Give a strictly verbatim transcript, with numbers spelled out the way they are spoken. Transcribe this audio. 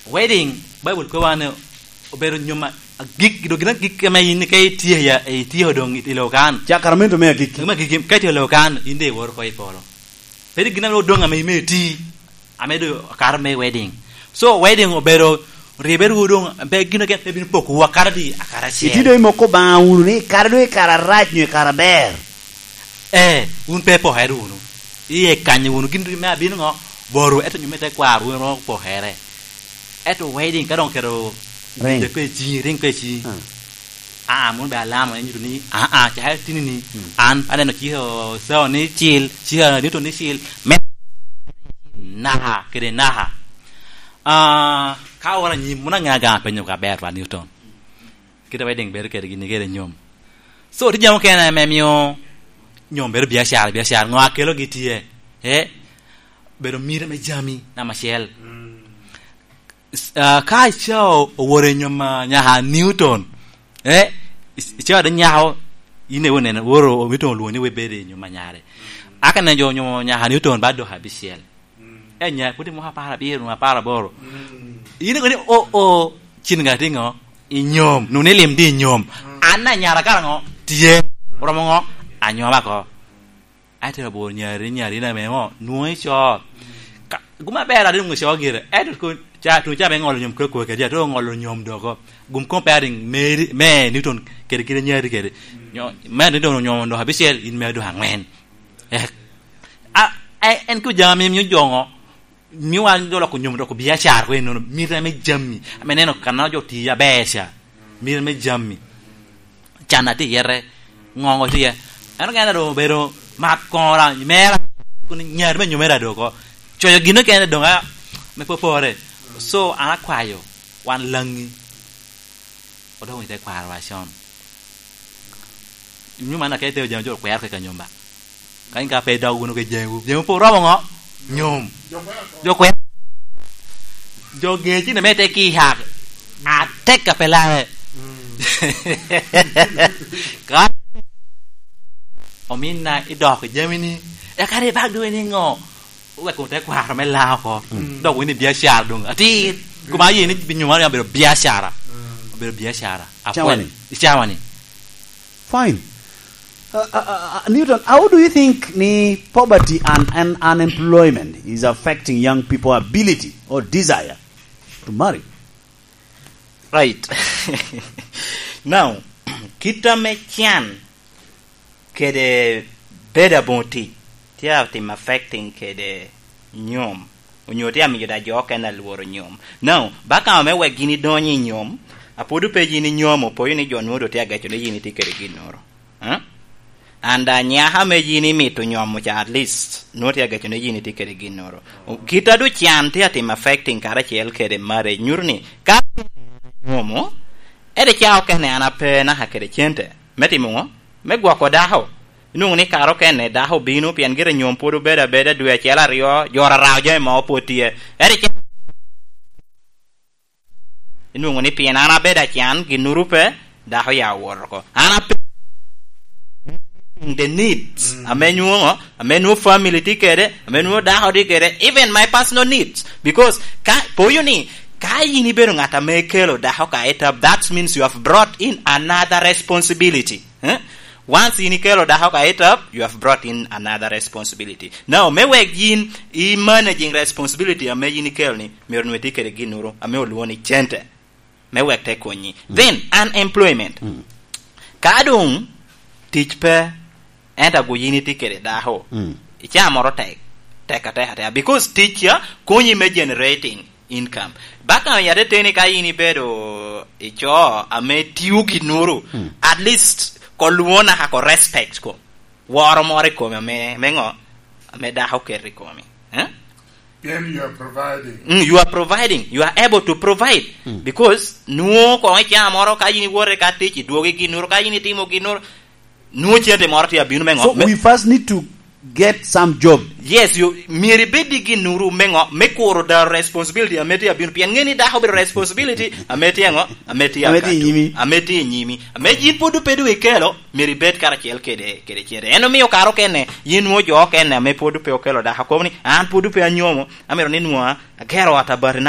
Wedding, Baibul kobo ni obedo nyom a-, agik, dok gin agik ame in ka itye ya, itye doŋ i loka-nu. Cakramento me agikki. Me agikki, ka itye i loka-nu, in doŋ iwor oko i polo. Pe gin ame odoŋ ame imito iti, ame doŋ okato me wedding. So, wedding obedo ribere wu doŋ, pe gin ogen pe bino pokowu akato di, akato acel. Itye doŋ imoko Obaŋa wunu ni, kara doŋ i kare arac nyo i kare aber. Ee, wun pe ipokere wunu. Iye kanyo wunu, gin me abino ŋo? Botwu, ento nyo me tekwaro, wun iromo pokere. Ento wedding, ka doŋ oketo Ring. Ring pe ciŋi, ring pe ciŋi. Ah. Aa, mom be alama, en nyuto ni, aa, aa, cakere tini ni, mm, an aneno cika Osao ni cil, cika Newton ni cil, me naka, kede naka. Ah, ka oworo anyim, mom aŋeo aŋea penyo ka ber pa Newton. Kite wedding bedo kede gin kede nyom. So, tye jami okene ame mio nyom bedo biacara, biacara, ŋo a kelogi tye? Eh? Bedo mire me jami, namba acel. S-, ah, ka Osao owoto i nyom a nyaka Newton, eh, Os-, Osao de nyako, in iwinyo neno, woro, omito olwoŋo ni webede i nyom a nyare. Aka neno jo onyomo nyaka Newton ba dok abicel. Eh, nya, pwod imoko apar abiro, apar aboro. In iwinyo ni, o, o, cin ŋa tye ŋo? I nyom, nuni lim di i nyom. An anyara kara ŋo? Tye. Oromo ŋo? Anyoma ko. Aye tero bor nyari, nyari na me ŋo? Nwoŋo ico. Ka, gum aber adi nwoŋo ico gire. Ento kun, ca, tuŋ ca me ŋolo nyom kwe kwe kedi, ato ŋolo nyom doko. Gum comparing me, me Newton kede kite nyari kede. Nyo, me Newton onyomo dok abicel, in me dok aŋwen. Eh, a, a, en ko jami mio jo ŋo? Mio wan jo loko nyom doko biacara ko enono, mire me jami. Ame neno kan jo tiyo aber ca. Mire me jami. Can atye yete, ŋoŋo tye. Ento kene doŋ obedo mat koŋo ra, mera, kun nyari me nyomere adoko. Coyo gin okene doŋ a, me popore. So, an akwayo, wan Laŋi, odok i tekwaro wa con. Nyuma na ka itero jami jo kwero kaka nyom ba. Ka in ka pe idok wunu ke jami, jami pe oromo ŋo? Nyom. Jo kwero. Jo gecine me te ki hak. Atek a pe lae. Ka ominna idok i jami ni, eka ri bak doŋ ni ŋo? Oweko tekwaro me Laŋo oko. Dok wini biacara doŋ atir. Kuma aye ni binyuma ni obedo biacara. Obedo biacara. Apwony. Cawani. I cawani. Fine. Uh, uh, uh, uh, Newton, how do you think ni poverty and, and unemployment is affecting young people ability or desire to marry? Right. Now, kit ame can kede bedo aboŋo tic tye atimo affecting kede nyom, onyo tye amiyo da jo okene alworo nyom. Now, ba ka ame wek yin idony i nyom, apwod pe yin inyomo, opoyo ni jo nwoŋo doŋ tye ageco ni yin itye kede ginnoro. Eh? And anyaka ame yin imito nyomo ca, at least, nwoŋo tye ageco ni yin itye kede ginnoro. Kit a doŋ can tye atimo affecting karacel kede marriage, nyuto ni ka nyomo, ede ca okene an ape naka kede cente. Me timo ŋo? Me gwoko dako. Inwoŋo ni kare okene dako obino pien gire nyom pwod obedo abeda dwe acel aryo, jo rarao jami mogo pwod tye. Ento ice-, inwoŋo ni pien an abedo acan, ginnoro pe, dako ya owot oko. An ape-, the needs, ame nwoŋo, ame nwoŋo family tye kede, ame nwoŋo dako tye kede, even my personal needs. Because ka, poyo ni, ka yin ibedo ŋat ame ikelo dako ka itap, that means you have brought in another responsibility. Eh? Once yin ikelo dako ka itap, you have brought in another responsibility. Now, me wek yin i managing responsibility ame yin ikelo ni, myero nwe tye kede ginnoro ame olwongo ni cente, me wek te konyi. Then, unemployment. Ka doŋ tic pe, ento ago yin itye kede dako, icaa moro tek, tek atek atek. Because tic ya konyi me generating income. Baka ya te teni ka yin ibedo ico ame tio ginnoro, at least ko lwona ka ko respect ko. Woro moro i komi ame, me ŋo? Ame dako oketo i komi. Eh? Then you are providing. Mm, you are providing. You are able to provide. Because nwoŋo koŋ icaa moro ka yin iwote ka tic, idwogo i ginnoro, ka yin itimo ginnoro, nwoŋo cente moro tye abino me ŋo? So me we first need to get some job. Yes, you, myero ibed i ginnoro me ŋo? Me kuro da responsibility ame tye abino. Pien ŋe ni dako obedo responsibility ame tye ŋo? Ame tye ame tye i nyimi. Ame tye i nyimi. Ame yin pwod ope doŋ ikelo, myero ibed karacel kede, kede cente. En omio kare okene, yin nwoŋo jo okene ame pwod pe okelo dako kobo ni, an pwod pe anyomo, amito ni nwoŋo agero ot abati